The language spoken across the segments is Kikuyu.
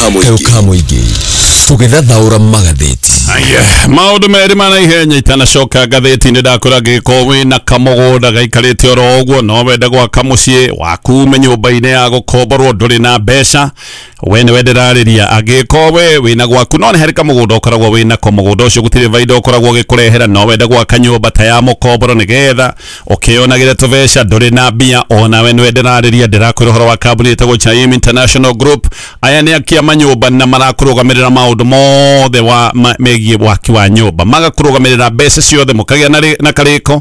Kayũ ka mũingĩ tũgĩthathaũra magathĩti. Aya, maũndũ merĩ ma naihenya itanacoka ngathĩti-inĩ ndakũra ngĩgĩkorwo wĩna kamũgũnda gaikarĩte oro ũguo no wende gwaka mũciĩ waku ume nyũmba-inĩ ya gũkomborwo ndũrĩ na mbeca, we nĩwe ndĩrarĩria. Angĩgĩkorwo we wĩna gwaku no nĩ harĩ kamũgũnda ũkoragwo wĩnako, mũgũnda ũcio gũtirĩ baida ũkoragwo ũgĩkũrehera, no wende gwaka nyũmba ta ya mũkomboro nĩgetha ũkĩonagĩre tũbeca, ndũrĩ na mbia, onawe nĩwe ndĩrarĩria. Ndĩrakwĩra ũhoro wa kambuni ĩtagwo Chaim International Group. Aya nĩ akia manyũmba na marakũrũgamĩrĩra maũndũ mothe wa megiĩ waki wa nyũmba, magakũrũgamĩrĩra mbeca ciothe mũkagĩa na karĩko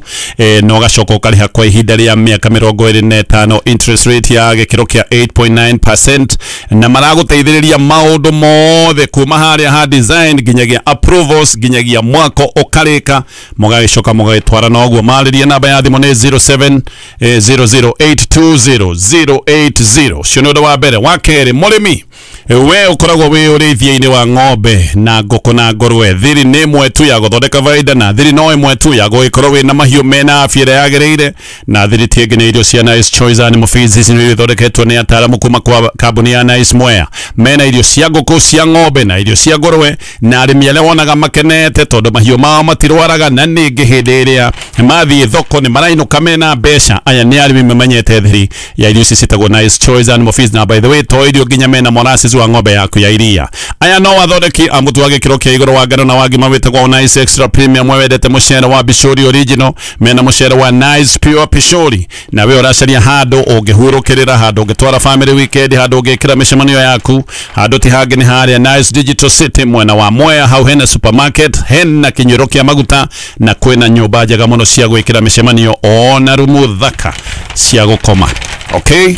na ũgacoka ũkarĩha kwa ihinda rĩa mĩaka 25, interest rate ya gĩkĩro kĩa 8.9%, na maragũteithĩrĩria maũndũ mothe kuma harĩa ha design nginyagia approvals nginyagia mwako ũkarĩka, mũgagĩcoka mũgagĩtwara na ũguo. Marĩrie namba ya thimũ nĩ 07 00820 080. Ũcio nĩ ũndũ wa mbere. Wa kerĩ, mũrĩmi we ũkoragwo wĩ ũrĩithia-inĩ wa ng'ombe na ngũkũ na ngũrwe, thiri nĩ ĩmwe tu ya gũthondeka baida, na thiri no ĩmwe tu ya gũgĩkorwo wĩna mahiũ mena afya ĩrĩa yagĩrĩire, na thiri ti ĩngĩ nĩ irio cia Nice Choice Animal Feeds. Ici nĩ irio ithondeketwo nĩ ataaramu kuma kwa kambuni ya Nice Mwea. Mena irio cia ngũkũ, cia ng'ombe na irio cia ngũrwe, na arĩmi arĩa wonaga makenete tondũ mahiũ mao matirwaraga, na ningĩ hĩndĩ ĩrĩa mathiĩ thoko nĩ marainũka mena mbeca. Aya nĩ arĩmi mamenyete thiri ya irio ici ciĩtagwo Nice Choice Animal Feeds, na by the way to irio nginya mena molasses wa ng'ombe yaku ya iria. Aya no athondeki a mũtu wa gĩkĩro kĩa igũrũ wa ngano na wa ngima wĩtagwo Nice Extra Premium. We wendete mũcere wa Bishori Original, mena mũcere wa Nice Pure Pishori, na we ũracaria handũ ũngĩhurũkĩrĩra, handũ ũngĩtwara family weekend, handũ ũngĩkĩra mĩcemanio yaku, handũ ti hangĩ nĩ harĩa Nice Digital City mwena wa Mwea. Hau hena supermarket, hena kĩnyuĩro kĩa maguta, na kwĩna nyũmba njega mũno cia gwĩkĩra mĩcemanio ona rumu thaka cia gũkoma. Okay,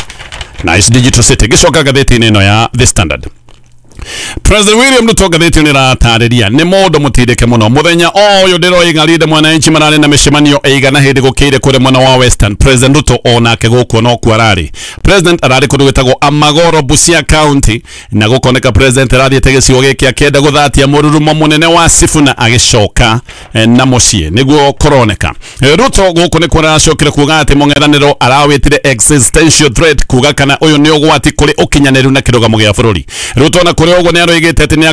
Nice Digital City. Gĩcoka ngathĩti-inĩ ĩno ya The Standard. President William Ruto ngathĩti nĩ ĩratarĩria nĩ mũndũ mũtindĩke mũno. Mũthenya o ũyũ ndĩroiga Linda Mwananchi mararĩ na mĩcemanio ĩigana hĩndĩ gũkĩire kũrĩa mwena wa Western. President Ruto onake gũkuo no kuo ararĩ. President ararĩ kũndũ gwĩtagwo Amagoro, Busia County, na gũkoneka president arathiĩte gĩcigo gĩkĩ akĩenda gũthatia mũrurumo mũnene wa Sifuna agĩcoka na mũciĩ nĩguo kũroneka. Ruto gũkũ nĩkuo aracokire kuga atĩ mũng'ethanĩro arawĩtire existential threat, kuga kana ũyũ nĩ ũgwati kũrĩ ũkinyanĩru na kĩrũgamo gĩa bũrũri. Ruto na kũrĩ ũguo nĩ aroigĩte atĩ nĩ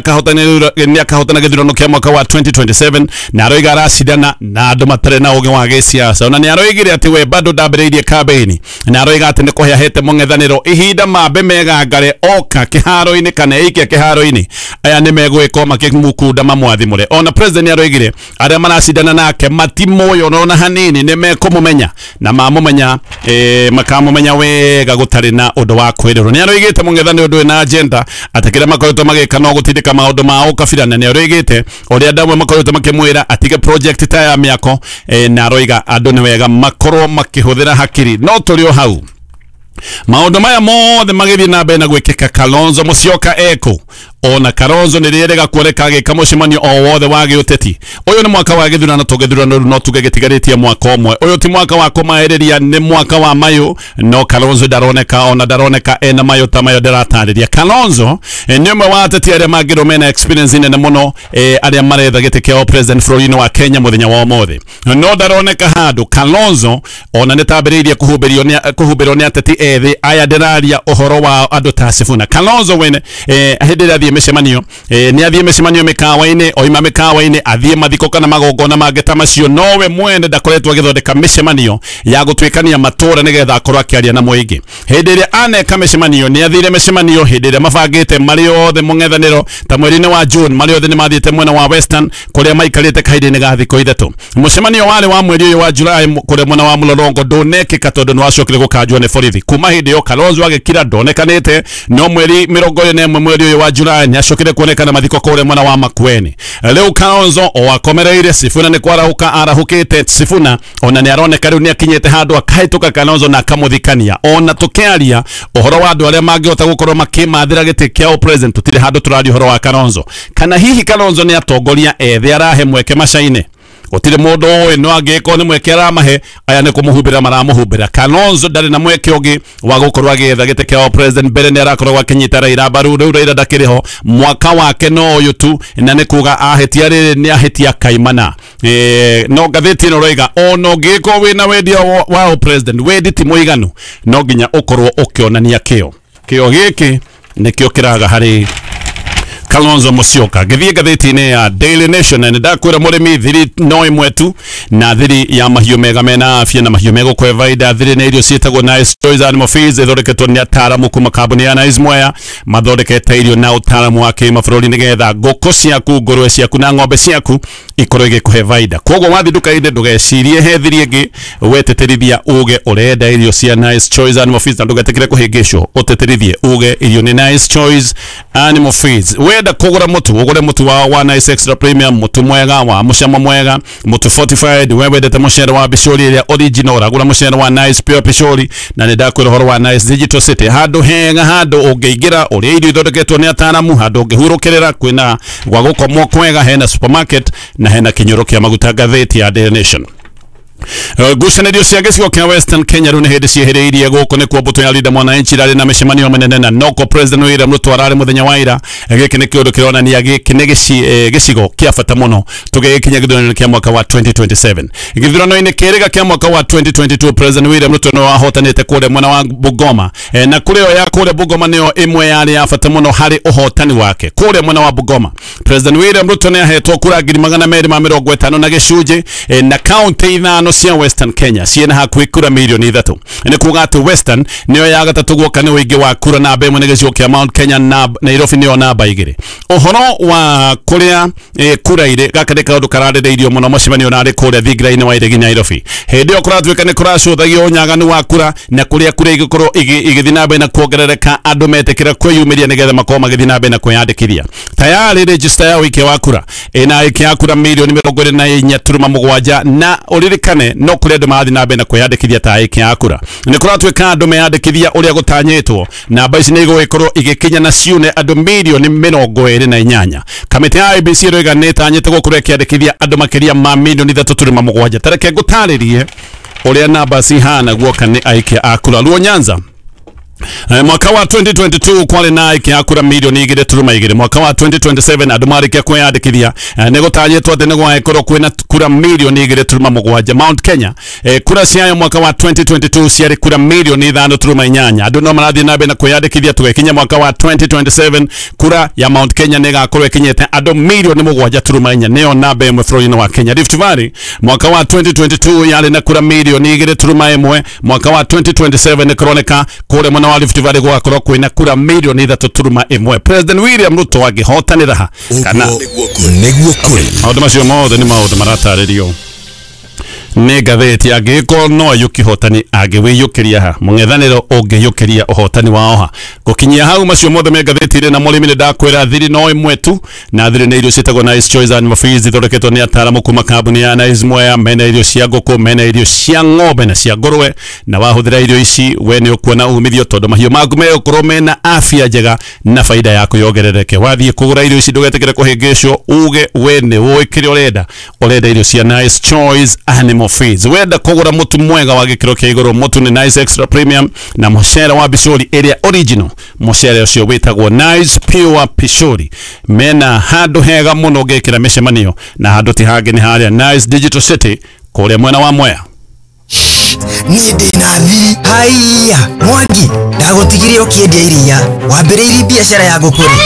akahotana gĩthurano kĩa mwaka wa 2027, na aroiga aracindana na andũ matarĩ na ũgĩ wa gĩsiasa. Ona nĩ aroigire atĩ we bado ndambĩrĩirie kambĩini, na aroiga atĩ nĩ kũhe ahete mũng'ethanĩro ihinda mambe megangare oka kĩharo-inĩ kana eikia kĩharo-inĩ, aya nĩ megwĩkwo makĩmukunda mamwathimũre. Ona president nĩ aroigire arĩa maracindana nake matimũĩ ona hanini, nĩ mekũmũmenya na mamũmenya makamũmenya wega gũtarĩ na ũndũ wa kwĩrĩrwo. Nĩ aroigĩte mũng'ethanĩro ndũrĩ na agenda, atĩ kĩrĩa makoretwo magĩka no gũtindĩka maũndũ ma ũkabira, na nĩ aroigĩte ũrĩa andũ amwe makoretwo makĩmwĩra atige project ta ya mĩako, na aroiga andũ nĩ wega makorwo makĩhũthĩra hakiri. No tũrĩ o hau, maũndũ maya mothe magĩthiĩ na mbere na gwĩkĩka, Kalonzo Musyoka eko ona Kalonzo nĩ rĩerega kuoneka agĩka mũcemanio o wothe wa gĩũteti. Ũyũ nĩ mwaka wa gĩthurano, tũgĩthurano rĩu no tuge gĩtigarĩtie mwaka ũmwe. Ũyũ ti mwaka wa kũmaĩrĩria, nĩ mwaka wa mayũ, no Kalonzo ndaroneka, ona ndaroneka ena mayũ ta mayo ndĩratarĩria. Kalonzo nĩ ũmwe wa ateti arĩa mangĩrwo mena experience nene mũno, arĩa maretha gĩtĩ kĩa president bũrũri-inĩ wa Kenya mũthenya wa ũmũthĩ, no ndaroneka handũ. Kalonzo ona nĩ tambĩrĩirie kũhumbĩrwo nĩ ateti ethĩ aya ndĩraria ũhoro wa andũ ta Sifuna. Kalonzo wene hĩndĩ ĩrĩa athiĩ mĩcemanio, nĩ athiĩ mĩcemanio mĩkawa-inĩ, oima mĩkawa-inĩ athiĩ mathiko kana magongona mangĩ ta macio, nowe mwene ndakoretwo agĩthondeka mĩcemanio ya gũtuĩkania matũra nĩgetha akorwo akĩaria na mũingĩ. Hĩndĩ ĩrĩa aneka mĩcemanio, nĩ athire mĩcemanio hĩndĩ ĩrĩa mabangĩte marĩ othe mũng'ethanĩro ta mweri-inĩ wa June, marĩ othe nĩ mathiĩte mwena wa Western kũrĩa maikarĩte kahinda-inĩ ga thikũ 3. Mũcemanio warĩ wa mweri ũyũ wa July kũrĩa mwena wa Mlolongo ndũnekĩka tondũ nĩ wacokire gũkanjwo nĩ borithi. Kuma hĩndĩ ĩyo Kalonzo agĩkira ndonekanĩte, no mweri 21 mweri ũyũ wa July nĩ acokire kuonekana mathiko kũrĩa mwena wa Makueni. Rĩu Kalonzo o akomereire Sifuna nĩ kwarahũka arahũkĩte. Sifuna ona nĩ aroneka rĩu nĩ akinyĩte handũ akahĩtũka Kalonzo na akamũthikania. Ona tũkĩaria ũhoro wa andũ arĩa mangĩhota gũkorwo makĩmathĩra gĩtĩ kĩa president, tũtirĩ handũ tũraria ũhoro wa Kalonzo. Kana hihi Kalonzo nĩ atongoria ethĩ arahe mweke macaine? Gũtirĩ mũndũ ũĩ, no angĩkorwo nĩ mweke aramahe, aya nĩ kũmũhumbĩra maramũhumbĩra. Kalonzo ndarĩ na mweke ũngĩ wa gũkorwo agĩetha gĩtĩ kĩa president. Mbere nĩ arakoragwo akĩnyita Raila mbaru, rĩu Raila ndakĩrĩ ho, mwaka wake no ũyũ tu, na nĩ kuga ahĩtia rĩrĩ nĩ ahĩtia kaimana. No ngathĩti ĩno roiga ona ũngĩkorwo wĩna wendia wa president, wendi ti mũiganu, no nginya ũkorwo ũkĩonania kĩo. Kĩo gĩkĩ nĩkĩo kĩraga harĩ Kalonzo Musyoka. Githie ngathĩti-inĩ ya Daily Nation na ndakwĩra mũrĩmi thiri no ĩmwe tu, na thiri ya mahiũ mega mena afya na mahiũ megũkũhe baida. Thiri nĩ irio ciĩtagwo Nice Choice Animal Feeds, ithondeketwo nĩ ataaramu kuma kambuni ya Nice Mwea, mathondekete irio na ũtaaramu wa kĩmabũrũri nĩgetha ngũkũ ciaku, ngũrwe ciaku na ng'ombe ciaku ikorwo igĩkũhe baida. Koguo wathiĩ nduka-inĩ ndũgecirie he thiri ĩngĩ, wetĩtĩrithia uge ũrenda irio cia Nice Choice Animal Feeds na ndũgetĩkĩre kũhĩngĩcwo, ũtĩtĩrithie uge irio nĩ Nice Choice Animal Feeds. Wenda kũgũra mũtu, ũgũre mũtu wa Nice Extra Premium, mũtu mwega wa mũcamo mwega, mũtu fortified. We wendete mũcere wa Pishori ĩrĩa original, ũragũra mũcere wa Nice Pure Pishori. Na nĩ ndakwĩra ũhoro wa Nice Digital City, handũ hega, handũ ũngĩingĩra ũrĩa irio ithondeketwo nĩ ataaramu, handũ ũngĩhurũkĩrĩra, kwĩna gwa gũkomwo kwega, hena supermarket na hena kĩnyũrũ kĩa maguta. Ngathĩti ya Daily Nation. Ngucanĩrio cia gĩcigo kĩa Western Kenya rĩu nĩ hĩndĩ ciehĩrĩirie. Gũkũ nĩkuo mbũtũ ya Linda Mwananchi irarĩ na mĩcemanio mĩnene na noko President William Ruto ararĩ mũthenya wa ira. Gĩkĩ nĩ kĩũndũ kĩronania gĩkĩ nĩ gĩcigo kĩa bata mũno tũgĩgĩkinya gĩthurano kĩa mwaka wa 2027. Gĩthurano-inĩ kĩrĩga kĩa mwaka wa 2022 President William Ruto nĩwe wahotanĩte kũrĩa mwena wa Bungoma, na kũrĩa ya kũrĩa Bungoma nĩyo ĩmwe yarĩ ya bata mũno harĩ ũhotani wake. Kũrĩa mwena wa Bungoma President William Ruto nĩ ahetwo kura 250 na gĩcunjĩ, na kaunti ithano cia Western Kenya ciĩna hakuhĩ kura mirioni 3. Nĩ kuga atĩ Western nĩyo ya gatatũ guoka nĩ ũingĩ wa kura, namba ĩmwe nĩ gĩcigo kĩa Mount Kenya na Nairobi nĩyo namba 2. Ũhoro wa kũrĩa kura irĩ, gaka nĩ kaũndũ kararĩrĩirio mũno mũcemanio narĩ kũrĩa thingira-inĩ wa Iregi Nairobi. Hĩndĩ ĩyo kũratuĩka nĩ kũracũthagio ũnyaganu wa kura na kũrĩa kura igĩkorwo igĩthiĩ na mbere na kuongerereka, andũ metĩkĩra kwĩyumĩria nĩgetha makorwo magĩthiĩ na mbere na kwĩyandĩkithia. Tayari register ya ũikia wa kura ĩna aikia a kura mirioni 24.7, na ũririkane no kũrĩ andũ marathiĩ na mbere na kwĩyandĩkithia ta aikia a kura. Nĩ kũratuĩka andũ meyandĩkithia ũrĩa gũtanyĩtwo, namba ici nĩ igũgĩkorwo igĩkinya na ciune andũ mirioni 28. Kamĩtĩ ya IEBC ĩroiga nĩ ĩtanyĩte gũkorwo ĩkĩandĩkithia andũ makĩria ma mirioni 3.7. Ta reke ngũtarĩrie ũrĩa namba cihana guoka nĩ aikia a kura. Luo Nyanza mwaka wa 2022 kwarĩ na aikia a kura mirioni 2.2. Mwaka wa 2027 andũ marĩkia kwĩyandĩkithia nĩ gũtanyĩtwo atĩ nĩ gũgagĩkorwo kwĩna kura mirioni 2.7. Mount Kenya kura ciayo mwaka wa 2022 ciarĩ kura mirioni 5.8. Andũ no marathiĩ na mbere na kwĩyandĩkithia tũgĩkinya mwaka wa 2027 kura ya Mount Kenya nĩ ĩgakorwo ĩkinyĩte andũ mirioni 7.4, nĩyo namba ĩmwe bũrũri-inĩ wa Kenya. Rift Valley mwaka wa 2022 yarĩ na kura mirioni 2.1. Mwaka wa 2027 nĩ kũroneka kũrĩa mwena wa Rift Valley gũgakorwo kwĩna kura mirioni 3.1. President William Ruto angĩhotanĩra ha kana nĩguo kũrĩ. Maũndũ macio mothe nĩ maũndũ maratarĩrio nĩ ngathĩti. Angĩgĩkorwo no aiyũkie ũhotani, angĩwĩiyũkĩria ha mũng'ethanĩro ũngĩiyũkĩria ũhotani wao ha. Gũkinyia hau macio mothe me ngathĩti-inĩ. Na mũrĩmi nĩ ndakwĩra thiri no ĩmwe tu, na thiri nĩ irio ciĩtagwo Nice Choice Animal Feeds, ithondeketwo nĩ ataaramu kuma kambuni ya Nice Mwea. Mena irio cia ngũkũ, mena irio cia ng'ombe na cia ngũrwe, na wahũthĩra irio ici we nĩ ũkuona umithio tondũ mahiũ maku megũkorwo mena afya njega na baida yaku yongerereke. Wathiĩ kũgũra irio ici ndũgetĩkĩre kũhĩngĩcwo, uge we nĩ ũĩ kĩrĩa ũrenda, ũrenda irio cia Nice Choice Animal Feeds. Wenda kũgũra mũtu mwega wa gĩkĩro kĩa igũrũ, mũtu nĩ Nice Extra Premium na mũcere wa Pishori ĩrĩa original, mũcere ũcio wĩtagwo Nice Pure Pishori. Mena handũ hega mũno ũngĩkĩra mĩcemanio, na handũ ti hangĩ nĩ harĩa Nice Digital City kũrĩa mwena wa Mwea. Niĩ ndĩ na thiri. Haiya Mwangi, ndagũtigire ũkĩendia iria, wambĩrĩirie biacara ya ngũkũ rĩ?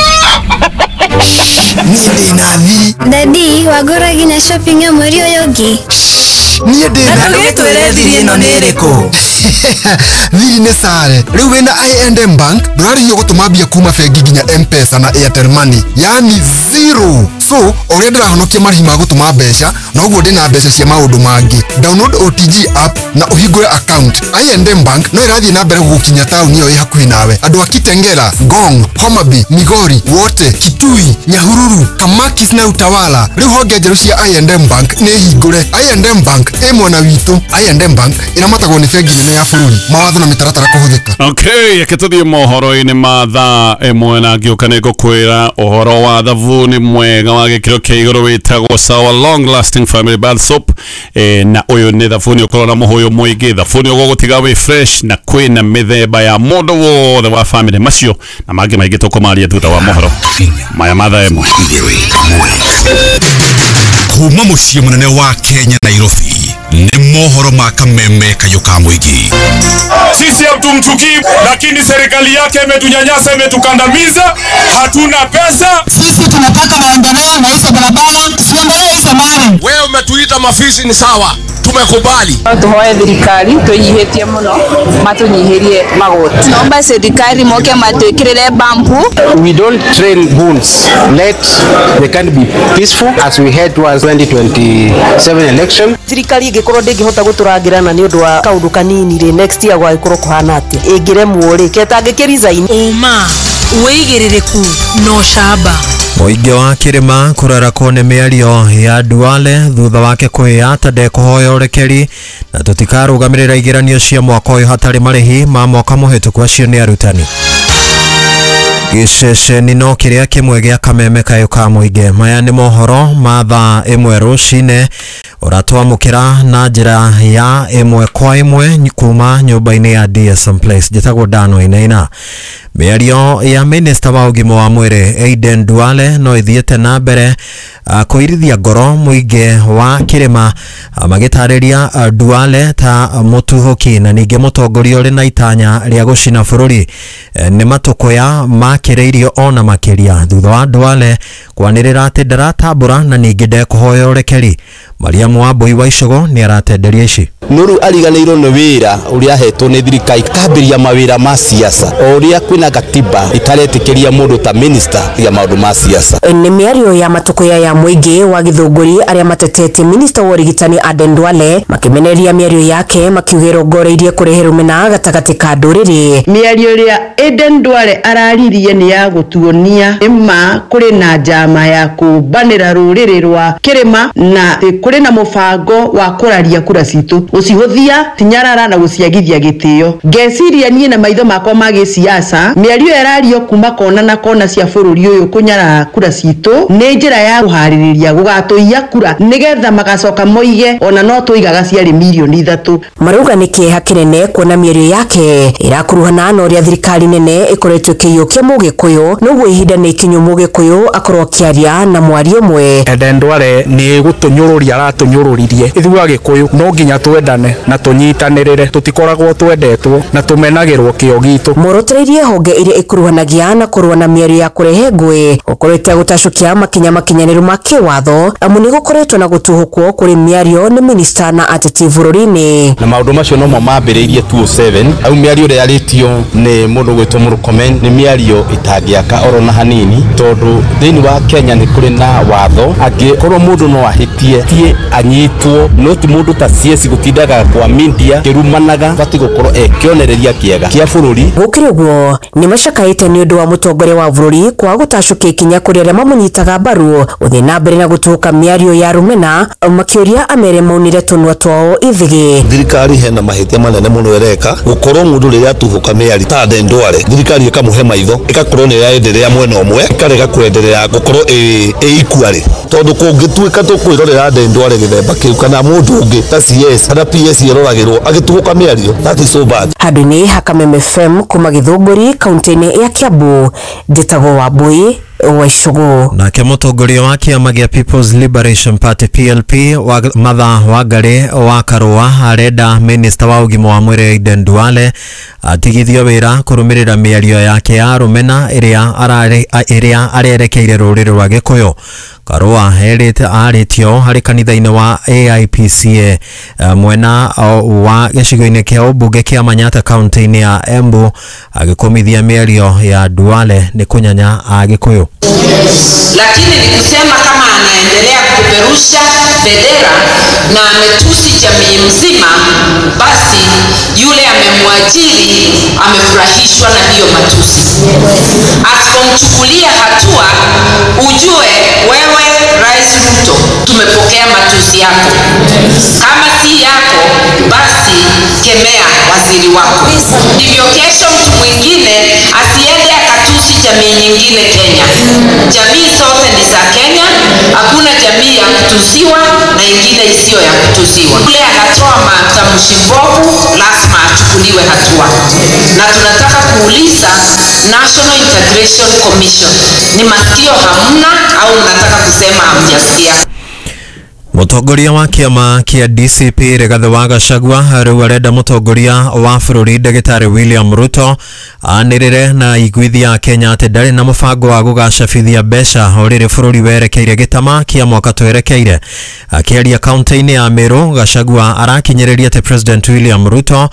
Niĩ ndĩ na thiri. Dadi, wagũra nginya shopping ya mweri ũyũ ũngĩ? Niĩ ndĩ na. Ndũgĩtwĩre thiri ĩno nĩ ĩrĩkũ? Thiri nĩ sare. Rĩu wĩna I&M Bank ndũrarĩhio gũtũma mbia kuma bengi nginya M-Pesa na Airtel Money, yani zero. So ũrĩa ndĩrahonokia marĩhi ma gũtũma mbeca, noguo ndĩna mbeca cia maũndũ mangĩ. Download OTG app na ũhingũre account. I&M Bank no ĩrathiĩ na mbere gũgũkinya taũni ĩyo ĩ hakuhĩ nawe. Andũ a Kitengela, Ngong, Homa Bay, Migori, Wote, Kitui, Nyahururu, Kamakis na Utawala. Rĩu honge njerũ cia I&M Bank nĩ hingũre. I&M Bank ĩ mwena witũ. I&M Bank ĩramatagwo nĩ bengi nene ya bũrũri. Mawatho na mĩtaratara kũhũthĩka. Okay, reke tũthiĩ mohoro-inĩ ma thaa ĩmwe na ngĩũka nĩ ngũkwĩra ũhoro wa thabuni mwega wa gĩkĩro kĩa igũrũ wĩtagwo Sawa Long Lasting Family Bath Soap. Na ũyũ nĩ thabuni ũkorwo na mũhũyũ mũingĩ, thabuni ũgũgũtiga wĩ fresh, na kwĩna mĩthemba ya mũndũ wothe wa family. Macio na mangĩ maingĩ tũkũmaria thutha wa mohoro maya ma thaa ĩmwe. Kuma mũciĩ mũnene wa Kenya Nairobi, Nĩ mohoro ma kameme kayũ ka mũingĩ. Sisi hatumchukii, lakini serikali yake imetunyanyasa, imetukandamiza, hatuna pesa. Sisi tunataka maendeleo na hizo barabara, siendelee hizo mali. Wewe umetuita mafisi ni sawa, tumekubali. Tuhoe thirikari twinyihitie muno matunyihirie magoti. Naomba serikali moke matwikirire bambu. We don't train goons. Let the country be peaceful as we head towards 2027 election. Thirikari ingikorwo ndingihota guturangirana ni undu wa kaundu kanini ri next year gwagikorwo kuhana atia ingiremwo ri ketangiki resign. Uma wigiririku no shaba. Mũingĩ wa kĩrĩma kũrarakwo nĩ mĩario ya Duale thutha wake kwĩyata ndekũhoya ũrekeri na tũtikarũgamĩrĩra igeranio cia mwaka ũyũ hatarĩ marĩhi ma mwaka mũhĩtũku. Acio nĩ arutani. Gĩceceni no kĩrĩa kĩmwe gĩa kameme kayũ ka mũingĩ. Maya nĩ mohoro ma thaa 1 rũcinĩ ũratwamũkĩra na njĩra ya 1 kwa 1 kuma nyũmba-inĩ ya DSM Place. Njĩtagwo Dan Wainaina. Mĩario ya minista wa ũgima wa mwĩrĩ Aden Duale no ĩthiĩte na mbere kũirithia ngoro mũingĩ wa kĩrĩma magĩtarĩria Duale ta mũtuhũki na ningĩ mũtongoria ũrĩ na itanya rĩa gũcina bũrũri. Nĩ matũkũya makĩrĩirio ona makĩria thutha wa Duale kwanĩrĩra atĩ ndaratambũra na ningĩ ndekũhoya ũrekeri. Mariamu Wambui wa Icũgũ nĩ aratenderia ici. Nuru ariganĩirwo nĩ wĩra ũrĩa ahetwo nĩ thirikari kambĩrĩria mawĩra ma siasa o ũrĩa kwĩna gatiba itaretĩkĩria mũndũ ta minister ya maũndũ ma siasa. Nĩ mĩario ya matũkũya ya mũingĩ wa Gĩthũngũri arĩa matetetie minista wa ũrigitani Aden Duale makĩmenereria mĩario yake makiuga ĩrongoreirie kũrehe rũmena gatagatĩ ka ndũrĩrĩ. Mĩario ĩrĩa Aden Duale araririe nĩ ya gũtuonia nĩma kũrĩ na njama ya kũmbanĩra rũrĩrĩ rwa kĩrĩma na kũrĩ na mũbango wa kũraria kura citũ, gũcihũthia tinyarara na gũciagithia gĩtĩo. Ngeciria niĩ na maitho makwa ma gĩsiasa mĩario ĩrario kuma kona na kona cia bũrũri ũyũ kũnyarara kura citũ nĩ njĩra ya kũharĩrĩria gũgatũiya kura nĩgetha magacoka moige ona no tũigaga ciarĩ mirioni 3. Marauga nĩ kĩeha kĩnene kuona mĩario yake ĩrakuruhana na ũrĩa thirikari nene ĩkoretwo ĩkĩiyũkia mũgĩkũyũ noguo ihinda nĩ ikinyu mũgĩkũyũ akorwo akĩaria na mwario ũmwe. Aden Duale nĩ gũtũnyũrũria aratũnyũrũririe ithuĩ Agĩkũyũ no nginya twendane na tũnyitanĩrĩre, tũtikoragwo twendetwo na tũmenagĩrwo kĩo gitũ. Morotereirie honge iria ikuruhanagia na kũrũa na mĩario ya kũrehe ngũĩ gũkorwo gũtacũkia makinya makinyanĩru ma kĩwatho amu nĩ gũkoretwo na gũtuhũkwo kũrĩ mĩario nĩ minista na ateti bũrũri-inĩ. Na maũndũ macio nomo mambĩrĩirie 2007 au mĩario ĩrĩa yarĩtio nĩ mũndũ gwĩtwo Murkomen nĩ mĩario ĩtangĩaka oro na hanini tondũ thĩinĩ wa Kenya nĩ kũrĩ na watho angĩkorwo mũndũ no ahĩtie tie anyitwo no ti mũndũ ta CS gũtindaga kwa media kĩrumanaga bati gũkorwo ekĩonereria kĩega kĩa bũrũri. Gũkĩrĩ ũguo nĩ macakaĩte nĩ ũndũ wa mũtongoria wa bũrũri kwaga gũtacũkia ikinya kũrĩ arĩa mamũnyitaga mbaru gũthiĩ na mbere na gũtũka mĩario ya rũmena makĩũria amere maunire tũnua twao ithigĩ. Thirikari hena mahĩtia manene mũno ĩreka gũkorwo mũndũ rĩrĩa atuhũka mĩario ta Aden Duale thirikari ĩkamũhe maitho ĩgakorwo nĩ ĩraenderea mwena ũmwe ĩkarega kwenderea gũkorwo ĩ equally tondũ kũngĩtuĩka tũkwĩrorera Aden Duale gĩthemba kĩu kana mũndũ ũngĩ ta CS kana PS ĩroragĩrwo agĩtuhũka mĩario, that is so bad. Handũ-inĩ ha Kameme FM kuma Gĩthũngũri kaunti-inĩ ya Kiambu, njĩtagwo Wambui wa Icũgũ. Nake mũtongoria wa kĩama gĩa People's Liberation Party PLP wa Martha Wangari wa Karũa arenda minista wa ũgima wa mwĩrĩ Aden Duale atigithio wĩra kũrũmĩrĩra mĩario yake ya rũmena ĩrĩa arerekeire rũrĩrĩ rwa Gĩkũyũ. Karũa erĩte arĩtio harĩ kanitha-inĩ wa AIPCA mwena wa gĩcigo-inĩ kĩa ũmbunge kĩa Manyatta kaunti-inĩ ya Embu agĩkũmithia mĩario ya Duale nĩ kũnyanya Agĩkũyũ. Lakini ni kusema kama anaendelea kupeperusha bendera na ametusi jamii mzima, basi yule amemwajiri amefurahishwa na hiyo matusi. Asipomchukulia hatua, ujue wewe Rais Ruto tumepokea matusi yako. Kama si yako, basi kemea waziri wako. Ndivyo kesho mtu mwingine asiende akatusi jamii nyingine Kenya. Jamii zote ni za Kenya, hakuna jamii ya kutusiwa na ingine isiyo ya kutusiwa. Yule anatoa matamshi mbovu lazima achukuliwe hatua. Na tunataka kuuliza National Integration Commission, ni masikio hamna au mnataka kusema hamjasikia? Mũtongoria wa kĩama kĩa DCP Rigathĩ wa Gachagua rĩu arenda mũtongoria wa bũrũri ndagĩtarĩ William Ruto anĩrĩre na iguithia ya Kenya atĩ ndarĩ na mũbango wa gũgacabithia mbeca o rĩrĩ bũrũri werekeire gĩtama kĩa mwaka twerekeire. Akĩaria kaunti-inĩ ya Meru, Gachagua arakinyĩrĩria atĩ President William Ruto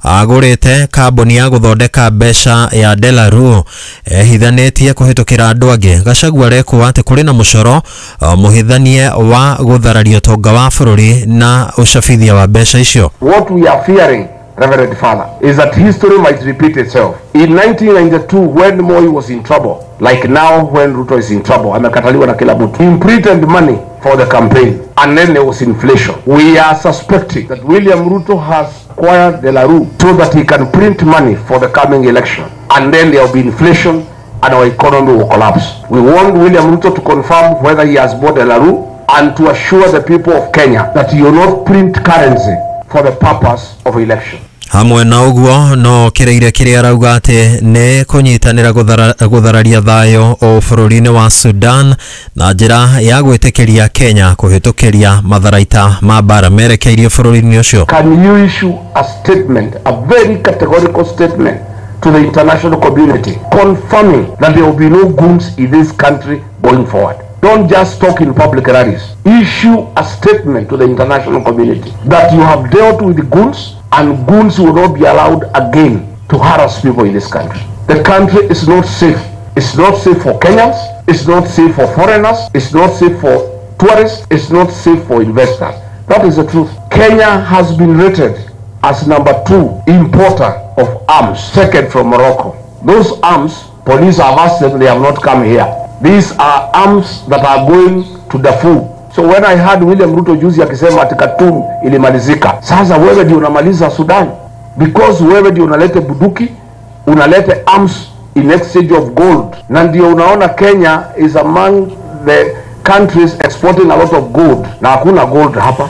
agũrĩte kambuni ya gũthondeka mbeca ya Delaru ehithanĩtie kũhĩtũkĩra andũ angĩ. Gachagua arekwo atĩ kũrĩ na mũcoro mũhithanie wa gũthararia ũtonga wa bũrũri na ũcabithia wa mbeca icio. What we are fearing, Reverend Father, is that history might repeat itself. In 1992, when Moi was in trouble, like now when Ruto is in trouble, amekataliwa na kila mtu, he printed money for the campaign, and then there was inflation. We are suspecting that William Ruto has acquired De La Rue so that he can print money for the coming election, and then there will be inflation and our economy will collapse. We want William Ruto to confirm whether he has bought De La Rue and to assure the people of Kenya that he will not print currency for the purpose of election. Hamwe na ũguo no kĩrĩire kĩrĩa arauga atĩ nĩ kũnyitanĩra gũthararia thayũ o bũrũri-inĩ wa Sudan na njĩra ya gwĩtĩkĩria Kenya kũhĩtũkĩria matharaita ma mbara merekeirio bũrũri-inĩ ũcio. Can you issue a statement, a very categorical statement to the international community confirming that there will be no goons in this country going forward? Don't just talk in public rallies. Issue a statement to the international community that you have dealt with the goons and goons will not be allowed again to harass people in this country. The country is not safe. It's not safe for Kenyans. It's not safe for foreigners. It's not safe for tourists. It's not safe for investors. That is the truth. Kenya has been rated as number 2 importer of arms, second from Morocco. Those arms, police have asked them, they have not come here. These are arms that are going to Darfur. So when I heard William Ruto juzi akisema ati Khartoum ilimalizika, sasa wewe ndio unamaliza Sudan, because wewe ndio unalete buduki, unalete arms in exchange of gold, na ndio unaona Kenya is among the countries exporting a lot of gold, na hakuna gold hapa.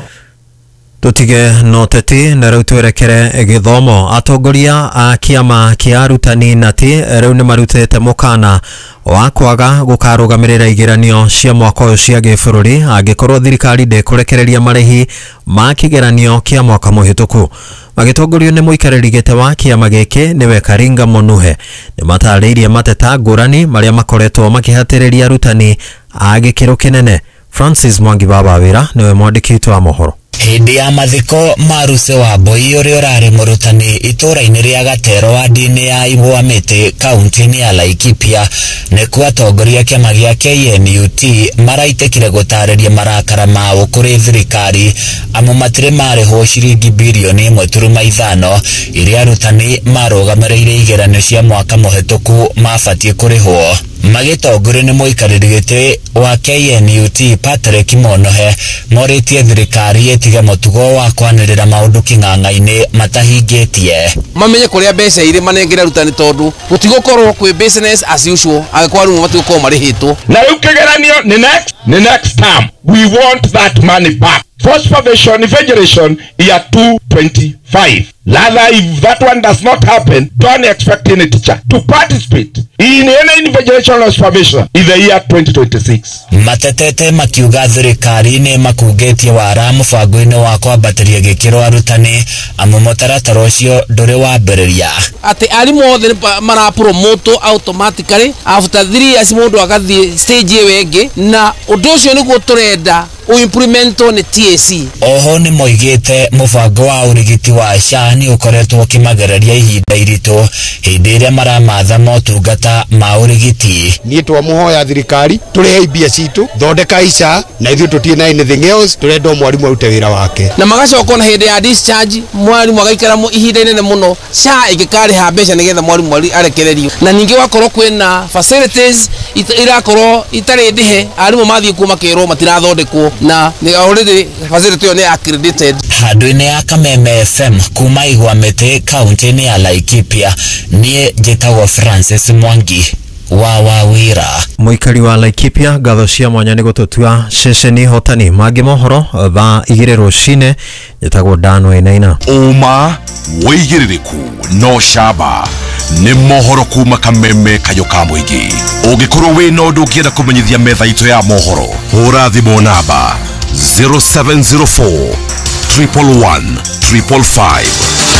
Tutige no teti na rĩu twerekere gĩthomo. Atongoria a kĩama kĩa arutani nati rĩu nĩ marutĩte mũkana wa kwaga gũkarũgamĩrĩra igeranio cia mwaka ũyũ cia gĩbũrũri angĩkorwo thirikari ndĩkũrekereria marĩhi ma kĩgeranio kĩa mwaka mũhĩtũku. Magĩtongorio nĩ mũikarĩri gĩtĩ wa kĩama gĩkĩ nĩwe Karinga Mũnuhe, nĩ matarĩirie mateta ngũrani marĩa makoretwo makĩhatĩrĩria arutani a gĩkĩro kĩnene. Francis Mwangi Baba Wĩra nĩwe mwandĩki witũ wa mohoro. Hĩndĩ ya mathiko ma Ruse wa Mbui ũrĩa ũrarĩ mũrutani itũũra-inĩ rĩa Gatero wadi-inĩ ya Igwa Mĩtĩ kaunti-inĩ ya Laikipia nĩkuo atongoria kĩama gĩa KNUT maraitĩkire gũtarĩria marakara mao kũrĩ thirikari amu matirĩ marĩhwo ciringi birioni 1.5 iria arutani marũgamĩrĩire igeranio cia mwaka mũhĩtũku mabatiĩ kũrĩhwo. Magĩtongorio nĩ mũikarĩri gĩtĩ wa KNUT Patrick Monohe morĩtie thirikari ĩtige mũtugo wa kwanĩrĩra maũndũ kĩng'ang'a-inĩ matahingĩtie. Mamenye kũrĩa mbeca irĩ manengere arutani tondũ gũtigũkorwo kwĩ business as usual angĩkorwo arimũ matigũkorwo marĩhĩtwo. Na rĩu kĩgeranio nĩ next term. We want that money back. For supervision invigilation year 2025. Rather, if that one does not happen, don't expect any teacher to participate in any invigilation or supervision in the year 2026. Matetete makiuga thirikari nĩ makungĩtie wara mũbango-inĩ wa kwambatĩria gĩkĩro arutani amu mũtaratara ũcio ndũrĩ wambĩrĩria. Atĩ arimũ othe marapromote automatically after 3 years mũndũ agathiĩ stage ĩyo ĩngĩ, na ũndũ ũcio nĩguo tũrenda uimplemento nĩ TSC. Oho nĩ moigĩte mũbango wa ũrigiti wa SHA nĩ ũkoretwo ũkĩmagereria ihinda iritũ hĩndĩ ĩrĩa maramatha motungata ma ũrigiti. Niĩ twamũhoya thirikari tũrĩhe mbia citũ, thondeka SHA na ithuĩ tũtirĩ na anything else, tũrenda o mwarimũ arute wĩra wake. Na magacoka na hĩndĩ ya discharge mwarimũ agaikara ihinda inene mũno SHA ĩngĩkarĩha mbeca nĩgetha mwarimũ arekererio. Na ningĩ wakorwo kwĩna facilities irakorwo itarĩ ndĩhe, arimũ mathiĩ kuo makerwo matirathondekwo na already facility ĩyo nĩ accredited. Handũ-inĩ ya Kameme FM kuma Igwa Mĩtĩ kaunti-inĩ ya Laikipia, niĩ njĩtagwo Francis Mwangi wa Wawira. Mũikari wa Laikipia, ngatho cia mwanya nĩ gũtũtua ceceni hotani. Mangĩ mohoro thaa 2 rũcinĩ. Njĩtagwo Dan Wainaina. Ũma wĩigĩrĩrĩku no camba nĩ mohoro kuma Kameme Kayo ka mũingĩ. Ũngĩkorwo wĩna ũndũ ũngĩenda kũmenyithia metha itũ ya mohoro, hũra thimũ namba 0704 111 555.